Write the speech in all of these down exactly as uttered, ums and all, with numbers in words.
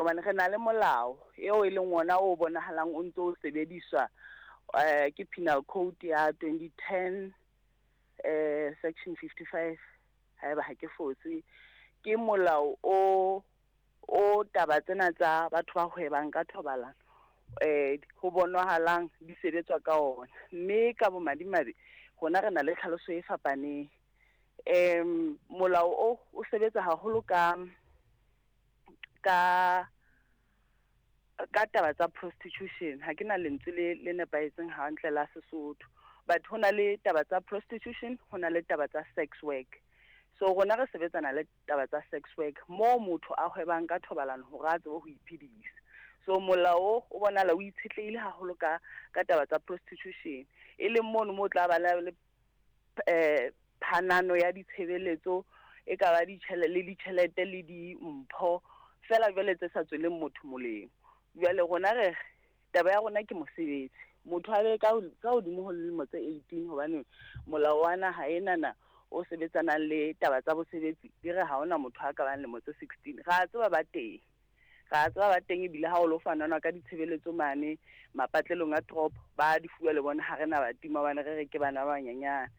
Hobane re na le molao eo e leng ona o bonahalang o ntso o sebediswa, eh ke Penal Code ya twenty ten, eh section fifty-five, haeba ha ke fose. Ke molao o o taba tsena tsa batho ba hwebang ka thobalano, eh ho bonahalang di sebetswa ka ona. Mme ka bomadimabe rona re na le tlhaloso e fapaneng. Em molao o o sebetsa haholo ka ka ka taba tsa prostitution. Ha ke na lentswe le le nepahetseng hantle la Sesotho, but ho na le taba tsa prostitution, ho na le taba tsa sex work. So rona re sebetsana le taba tsa sex work moo motho a hwebang ka thobalano hore a tsebe ho iphedisa. So molao o bonahala o itshetlehile haholo ka ka taba tsa prostitution, e leng mono mo tla ba le eh phanano ya ditshebeletso e ka ba ditjhelete le ditjhelete le dimpho fela jwale tse sa tsweleng motho molemo. Jwale rona re taba ya rona ke mosebetsi, motho a be ka ka hodimo ho dilemo tse eighteen, hobane molao wa naha enana o sebetsanang le taba tsa bosebetsi di re ha hona motho a ka bang lemo tse sixteen. Ra tseba ba teng, ra tseba ba teng, ebile ha o lo fanana ka ditshebeletso mane mapatlelong a toropo ba di fuwa le bona, ha re na ba tima hobane re re ke bana ba banyenyane.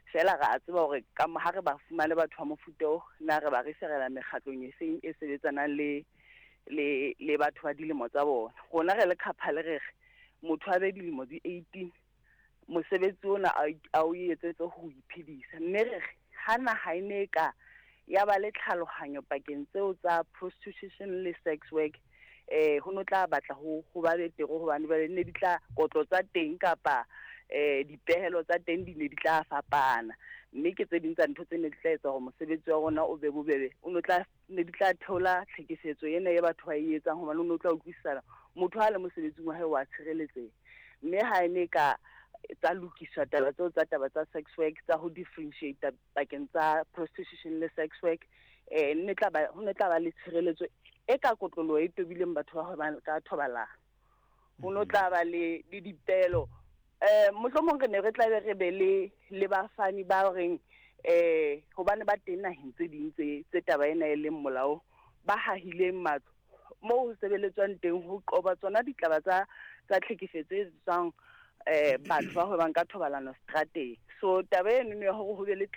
Fela ra tseba hore ka ha re ba fumane batho ba mofuta oo, na re ba referela mekgatlong e seng e sebetsanang le le le batho ba dilemo tsa bona. Rona re le couple re re motho a be dilemo di eighteen, mosebetsi ona a o etsetse ho iphedisa. Mme re re ha naha e ne ka ya ba le tlhalohanyo pakeng tseo tsa prostitution le sex work, eh ho no tla batla ho ho ba betere, hobane ba ne di tla kotlo tsa teng kapa eh dipehelo tsa teng di ne di tla fapana. Mme ke tse ding tsa ntho tse ne di tla etsa hore mosebetsi wa rona o be bobebe, o no tla ne di tla theola tlhekefetso ena e batho ba e etsang, hobane o no tla utlwisisana motho ha le mosebetsing wa hae wa tshireletseha. Mme ha e ne ka tsa lokiswa taba tseo tsa taba tsa sex work, tsa ho differentiate pakeng tsa prostitution le sex work, eh ne tla ba ho ne tla ba le tshireletso e ka kotloloho e tobileng batho ba hwebang ka thobalano. Ho no tla ba le le dipelo, eh mohlomong re ne re tla be re be le le bafani ba reng eh hobane ba teng naheng tse ding tse tse taba ena e leng molao, ba hahileng matlo moo ho sebeletswang teng ho qoba tsona ditlaba tsa tsa tlhekefetso e tswang eh batho ba hwebang ka thobalano strateng. So taba eno ya hore ho be le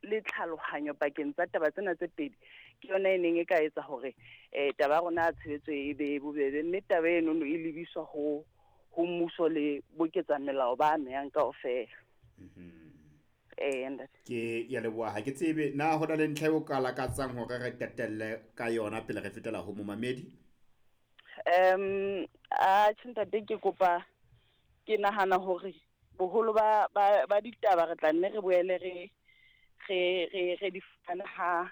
le tlhalohanyo pakeng tsa taba tsena tse pedi ke yona e neng e ka etsa hore eh taba ya rona ya tshebetso e be bobebe. Mme taba eno e lebiswa ho ho mmuso le boketsa melao ba amehang kaofela. Eh ntate, Ke ya leboha. Ha ke tsebe na ho na le ntlha eo ka lakatsang hore re qetelle ka yona pele re fetela ho momamedi. um a tjhe ntate, ke kopa ke nahana hore boholo ba ba ba ditaba re tla nne re boele re re re re di fana ha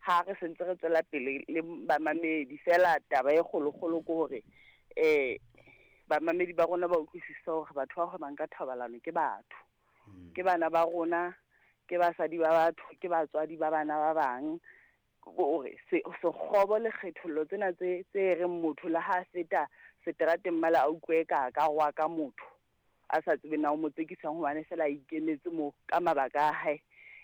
ha re sentse re tswela pele le bamamedi. Fela taba e kgolokgolo ke hore eh bamamedi ba rona ba utlwisisa hore batho ba hwebang ka thobalano ke batho, ke bana ba rona, ke basadi ba batho, ke batswadi ba bana ba bang. Hore sekgobo le kgethollo tsena tse tse reng motho le ha feta seterateng mala a utlwe ka ka rwa ka motho a sa tsebe na o mo tsekisang hobane fela a ikemetse mo ka mabaka a hae,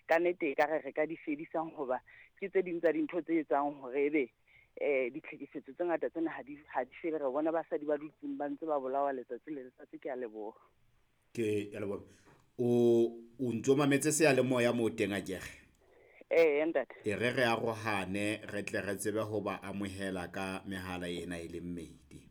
ka nnete e ka re re ka di fedisang, hoba ke tse ding tsa dintho tse etsang hore ebe eh ditlhekefetso tse ngata tsena ha di ha di fele. Re bona basadi ba dutseng ba ntse ba bolawa letsatsi le letsatsi. Ke a leboha. Ke ya leboha. O o ntso mametse seyalemoya moo teng akere? Eh ntate. E re re arohane re tle re tsebe ho ba amohela ka mehala ena e le mmedi.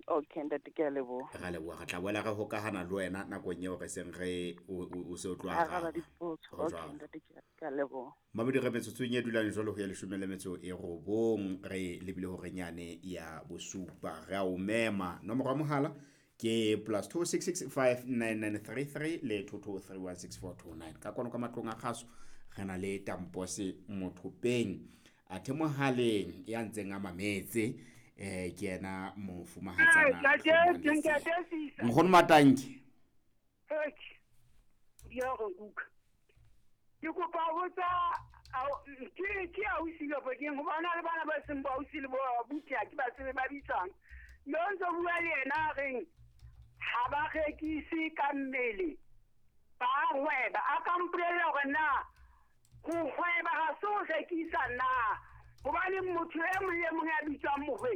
Okay ntate, ke a leboha. Ra leboha, re tla boela re hokahana le wena nakong eo re seng re o o se o tlo Araba araba. dipotso. Ho Okay jwalo. ntate, ke a leboha. Mamedi re metsotsong e dulang jwalo ho ya leshome le metso e robong, re lebile hore nyane ya bosupa. Re a o mema. Nomoro ya mohala ke plus two six six five nine nine three three le two two three one six four two nine. Ka kwano ka matlong a kgaso re na le Tampose Mothopeng athe mohaleng ya ntseng a mametse, eh ke yena mofumahatsana Nkgono Matanki. Ke kopa ho botsa ke ke ausi kapa keng, hobane le bana ba seng ba ausi le bo abuti ha ke ba tsebe ba bitsang. Mme o ntso bua le yena a reng ha ba rekise ka mmele, ba hweba. A ka mpolella hore na ho hweba ha se ho rekisa na, Hobane motho e mong le mong ya bitswang mohwebi.